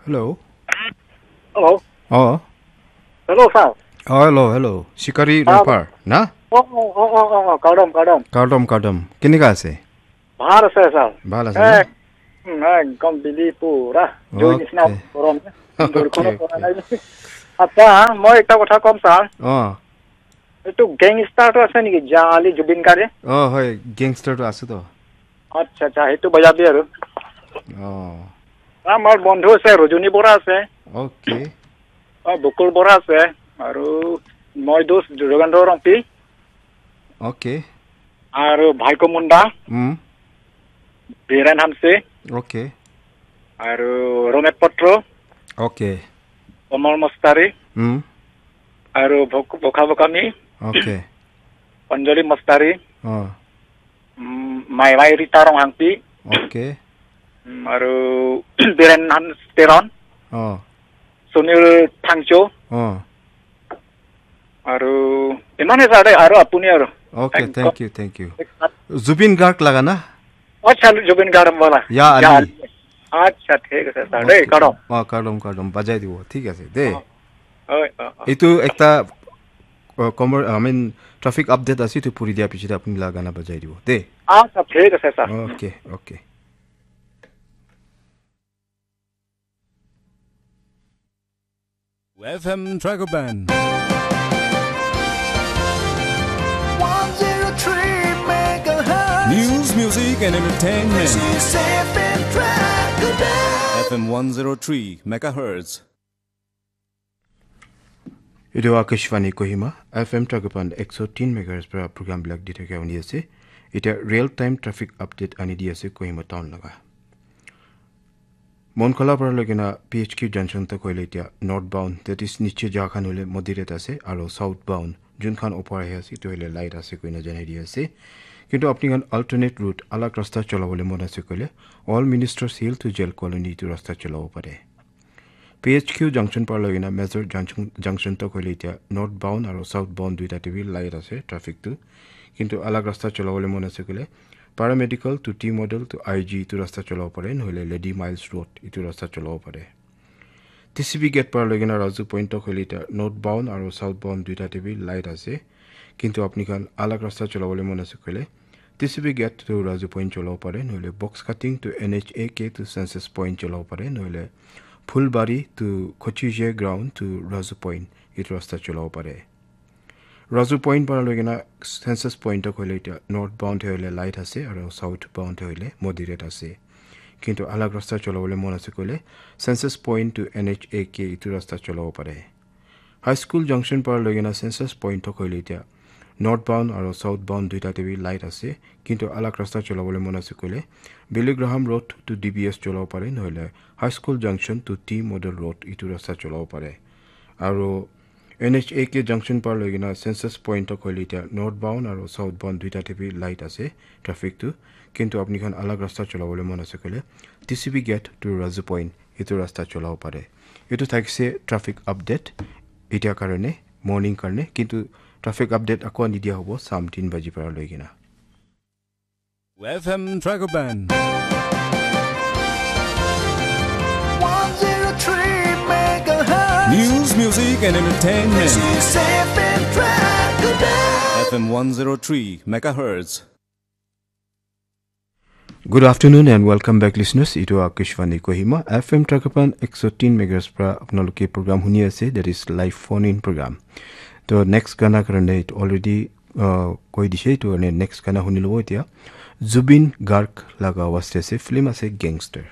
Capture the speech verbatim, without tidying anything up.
Hello. Hello. Oh. Hello, sir. Oh, hello, hello. Shikari Ah. Rapper, na? Oh, oh, oh, oh, oh, oh, kardom, kardom. Kardom, kardom. Kenika ase? Bhal ase, sir. Bhal ase, Eh, na? Hmm, eh, ekdom bili pura. Joi Okay. Nisna gorom. Okay, Dol kono okay. Pora nai. Acha, moi ekta kotha kom, sir. Oh. Etu gangster to ase niki? Jali Zubeen Garg? Oh, hoi, gangster to ase to. Acha, acha, etu bajabi aru. Oh. Amar bondhu ase, Rajuni Bora ase. Okay. Oh, Bukul Bora ase. Aru moi dos Jogendra Rongpi. Okay. Aru Bhaiko Munda. Hmm. Biren Hamse. Okay. Aru Romet Potro. Okay. Omar Mostari. Hmm. Aru Bok-, Bokha Bokami. Okay. Anjali Mostari. Oh. Mm, Mai Mai Rita Ronghangpi. Okay. Mm, aru Biren Hans Teron. Oh. Sunil Thangcho. Oh. Aru imane sare aru apuni aru. Okay, Thank thank you, thank you. Zubeen Garg laga na? Acha, Zubeen Garg wala. Ya Ya Ali. Ali. Acha, thik ase, sir. Okay. Dei, karo. Oh, kardom, kardom. Bajai dibo. Thik ase, de. Oh, oh, oh. Etu ekta, uh, commer-, I mean, traffic update ase, etu puri dia pichete apni la gana bajai dibo. De. Acha, thik ase, sir. Okay, okay. F M Dragon Band. One zero three megahertz. News, music, and entertainment. This is F M Dragon Band. F M one zero three megahertz. Etu Akashvani Kohima, F M Dragon Band ekso tin megahertz para program bilak di thakia huni ase. Etia real time traffic update ani di ase Kohima town laga. Monkhola para loikena P H Q junction tak hoile etia northbound, that is niche ja khan hoile moderate ase, aro southbound jun khan opor ahi ase, etu hoile light ase koina janai di ase. Kintu apni khan alternate route, alag rasta cholabole mon ase koile, All Ministers Hill to Jail Colony etu rasta cholabo pare. P H Q junction para loikena Major junction, junction tak hoile etia northbound aro southbound duita te bi light ase traffic tu. Kintu alag rasta cholabole mon ase koile, Paramedical to T Model to I G etu rasta cholabo pare, nohoile Lady Miles Road etu rasta cholabo pare. T C B gate para loikena Raju Point tak hoile etia northbound aro southbound duita te bi light ase. Kintu apni khan alag rasta cholabole mon ase koile, T C B gate to Raju Point cholabo pare, nohoile Box Cutting to N H A K to Census Point cholabo pare, nohoile Phulbari to Kochije Ground to Raju Point etu rasta cholabo pare. Raju Point para loikena Census Point tak hoile etia northbound te hoile light ase aro southbound te hoile moderate ase. Kintu alag rasta cholabole mon ase koile Census Point to N H A K etu rasta cholabo pare. High School junction para loikena Census Point tak hoile etia northbound aro southbound duita te bi light ase. Kintu alag rasta cholabole mon ase koile Billy Graham Road to D B S cholabo pare, nohoile High School junction to T Model Road etu rasta cholabo pare. Aro N H A K junction para loikena Census Point tak hoile etia northbound aro southbound duita te bi light ase traffic tu. Kintu apni khan alag rasta cholabole mon ase koile T C B gate to Raju Point etu rasta cholabo pare. Etu thakise traffic update etia karone, morning karone, kintu traffic update ako ani dia hobo sam tin baji para loikena. F M Dragon Band. One zero three megahertz. News, music, and entertainment. This is F M Dragon Band. F M one zero three megahertz. Good afternoon and welcome back, listeners. Etu Akashvani Kohima, F M Dragon Band ekso tin megahertz para apnaloke program huni ase, that is live phone in program. To next gana karone already, uh, koi dishe, to next gana huni lobo etia. Zubeen Garg laga awaz te ase, film ase Gangster.